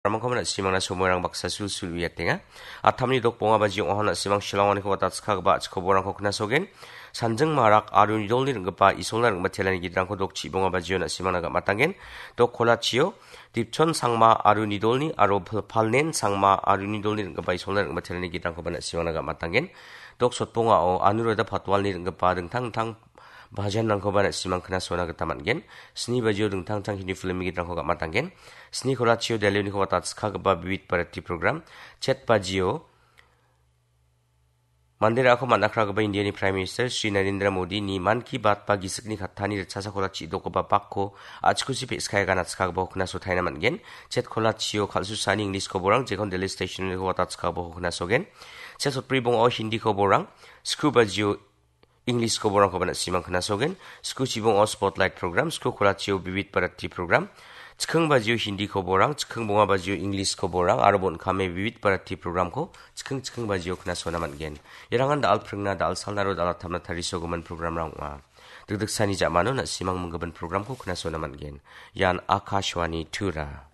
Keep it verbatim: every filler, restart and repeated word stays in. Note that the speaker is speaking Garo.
Ramangkoba na·simangna somoirang baksa sulsul uiatenga. Atamni dok bonga bajio ong·aha na·simang Shillonganiko watatskagipa a·chik koborangko knasogen. Sanjing Marak aro nidolni ring·gipa Isolna ring·batelani gidrangko dok chibonga bajio na·simangna gam·atanggen. Dok kolachio Dipchon Sangma aro nidolni aro Pal-, Palnen Sangma aro nidolni ring·gipa Isolna ring·batelani gidrangkoba na·simangna gam·atanggen. Dok sotbongao Anuradha Patwalni ring·gipa dingtang dingtang bajanrangkoba na·simang knasona gita man·gen. Sni bajio dingtang dingtang Hindi film-ni gidrangko gam·atanggen. Sni kolachio Delhi-oniko watatskagipa Vividh Bharati program. Chet bajio Mandera·ako man·akragipa Indiani Prime Minister Shri Narendra Modi-ni Mann Ki Baat ba gisikni kattani ritchasa kolachi dokgipa bakko a·chikuchi pe·skaia ganatskagipako knasotaina man·gen. Chet kolachio kal·susani English koborang, jekon Delhi Station-oniko watatskagipako knasogen. Chet sotbri bongao Hindi koborang, sku bajio English koborangkoba na·simang knasogen. Sku chibongo Spotlight program, sku kolachio Vividh Bharati program, chikking bajio Hindi koborang, chikking bonga bajio English koborang, aro bon·kame Vividh Bharati programko chikking chikking bajio knasona man·gen. Irangan da·al pringna, da·al salna aro da·al attamna tarisogimin programrang ong·a. Dikdiksani ja·mano na·simang minggimin programko knasona man·gen. Ian Akashvani Tura.